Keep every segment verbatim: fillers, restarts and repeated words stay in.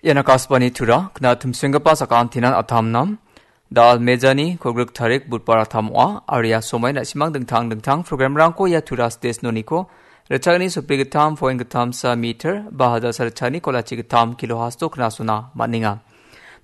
Ian Akashvani Tura, kna tumsenggipa sakantinan atamnam. Dal mejani kolgrik tarik budbar atam ong·a, aro ia somai na·simang dingtang dingtang programrangko ia Tura station-oniko ritchagni sopigittam point gittam sa meter, ba hajar sa ritchagni kolachi gittam kilo hasto knasona man·enga.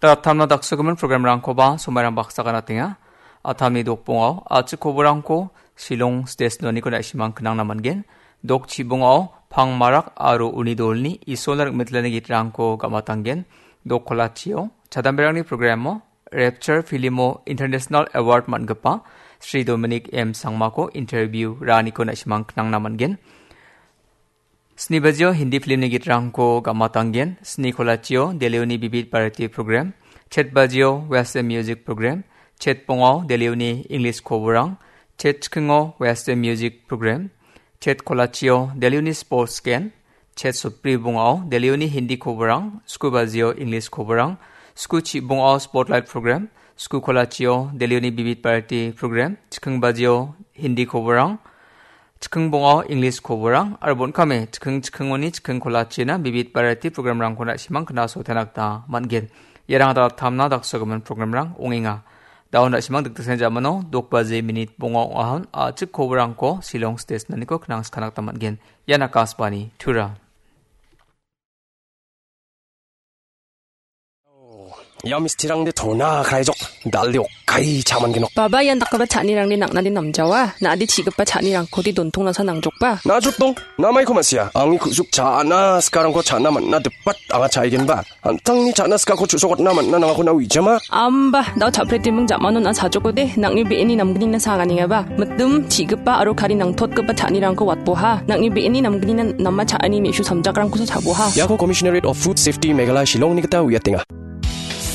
Da atamna daksogimin programrangkoba somairang baksa ganatenga. Atamni dokbongao, a·chik koborangko Shillong station-oniko na·simang knangna man·gen. Dok chibongao, pang marak aro uni dolni Isolna rik·mitlani gitrangko gam·atanggen. Dok kolachio, chadamberangni programo, Rapture filmo International Award man·gipa Sri Dominic M Sangmako interview ra·aniko na·simang knangna man·gen. Sni bajio Hindi filmni gitrangko gam·atanggen. Sni kolachio Delhioni Bibit Bharati program. Chet bajio Western Music program. Chet bongao Delhioni English koborang. Chet chikingo Western Music program. Chet kolachio Delhioni sports gen. Chet sopri bongao Delhioni Hindi koborang. Sku bajio English koborang. Sku chibongao spotlight program. Sku kolachio Delhioni Bibit Bharati program. Chiking bajio Hindi koborang. Chiking bongao English koborang aro bon·kame chiking chikingoni chiking kolachina Bibit Bharati programrangko na·simang knasoatna gita man·gen. Iarang adal tamna daksogimin programrang ong·enga. Da·o na·simang dikdiksen jamano dok baje minit bonga ong·ahon a·chik koborangko Shillong station-oniko knangskana gita man·gen. Ian Akashvani Tura. Ia mistirangde tona kraijok, dalde okkai chaman genok. Baba, ian dakgipa cha·nirangde nang·nade namjawa, na·ade chi·gipa cha·nirangkode dontong nangsa nangjokba. Najokdong, namaiko ma·sia, angni ku·suk cha·na sikarangko cha·na man·na dipat anga cha·aigenba. An·tangni cha·na sikako chu·sokatna man·na nangako na uijama. Amba, da·o cha·pretiming ja·manon a sajokode, nang·ni be·eni namgnina saganengaba. Mitim, chi·gipa aro kari nangtotgipa cha·nirangko watboha. Nang·ni be·eni namgnina nama cha·ani me·su samjakrangkosa cha·boha. Iako Commissionerate of Food Safety Meghalaya Shillongni gita uiatenga.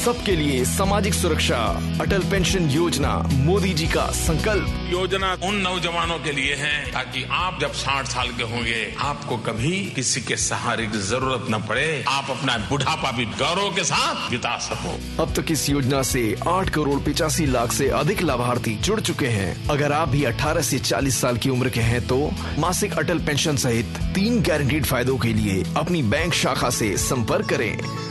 सबके लिए सामाजिक सुरक्षा, अटल पेंशन योजना, मोदी जी का संकल्प। योजना उन नौजवानों के लिए है, ताकि आप जब साठ साल के होंगे, आपको कभी किसी के सहारे की जरूरत न पड़े, आप अपना बुढ़ापा भी गौरव के साथ बिता सको। अब तक इस योजना से आठ करोड़ पचासी लाख से अधिक लाभार्थी जुड़ चुके हैं। अगर आप भी अठारह से चालीस साल की उम्र के हैं, तो मासिक अटल पेंशन सहित तीन गारंटीड फायदों के लिए अपनी बैंक शाखा से संपर्क करें।